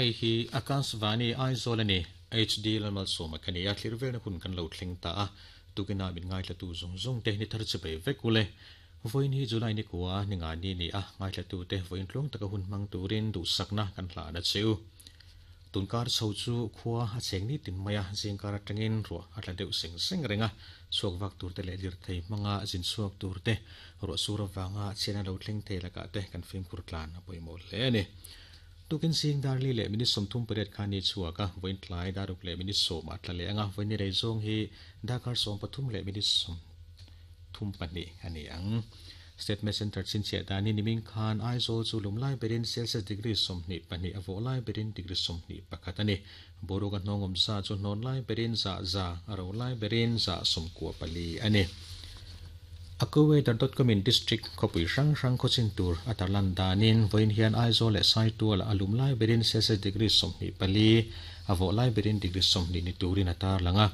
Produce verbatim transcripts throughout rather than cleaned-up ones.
Hei hi Akashvani Aizawl ani H D Lalmalsawma ka ni a, thlir velna hun kan lo thleng ta a, tukina min ngaithlatu zawng zawng te ni thar chibai vek ule. Vawiin hi July ni kua ni nga ni ni a, ngaithlatu te vawiin tluang taka hun hmang turin duhsakna kan hlan a cheu. Tunkar chho chu khua a cheng ni tin mai a, zingkar atangin ruah a tla deuh seng seng reng a, chhuak vak tur te leh lirthei hmanga zin chhuak tur te ruah sur avanga chhiatna lo thleng thei lakah te kan fimkhur tlan a pawimawh hle a ni. Tukin zing darli leh minute sawmthum pariat khan ni chhuak a, vawiin tlai daruk leh minute sawm a tla leh ang a, vawiin ni rei zawng hi darkar sawm pathum leh minute sawmthum pahnih a ni ang. State Med Center chhinchhiah danin nimin khan Aizawl chu lum lai berin Celsius degree sawmhnih pahnih a vawh lai berin degree sawmhnih pakhat a ni. Boruak a hnawngawm za chu hnawn lai berin za za, a ro lai berin za sawmkua pali a ni. Accuweather dot com in district khawpui hrang hrang khawchin tur a tarlan danin vawiin hian Aizawl leh Saitual a lum lai berin Celsius degree sawmhnih pali, a vawh lai berin degree sawmhnih ni turin a tarlang a.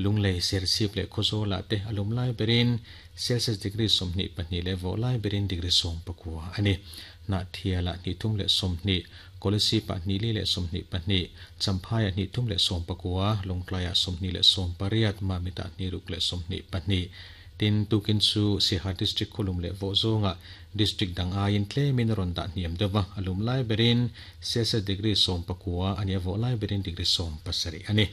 Lunglei, Serchhip leh Khawzawlah te a lum lai berin Celsius degree sawmhnih pahnih leh vawh lai berin degree sawm pakua a ni. Hnahthialah hnih thum leh sawmhnih, Kolasib-ah hnih li leh sawmhnih pahnih, Champhaiah hnih thum leh sawm pakua, Lawngtlaiah sawmhnih leh sawm pariat, Mamitah hnih ruk leh sawmhnih pahnih. Tin, tukin chu Siaha District khawlum leh vawh zawngah District dang aiin tlemin a rawn dah hniam deuh va, a lum lai berin Celsius degree sawm pakua a ni a, vawh lai berin degree sawm pasarih a ni.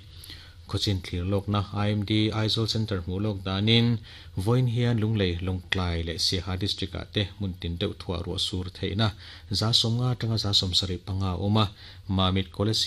Khawchin thlir lawkna I M D Aizawl Centre hmuh lawk danin vawiin hian Lunglei, Lawngtlai leh Siaha District-ah te hmun tin deuh thuah ruah sur theihna za sawmnga atanga za sawm sarih panga a awm a, Mamit Kolasib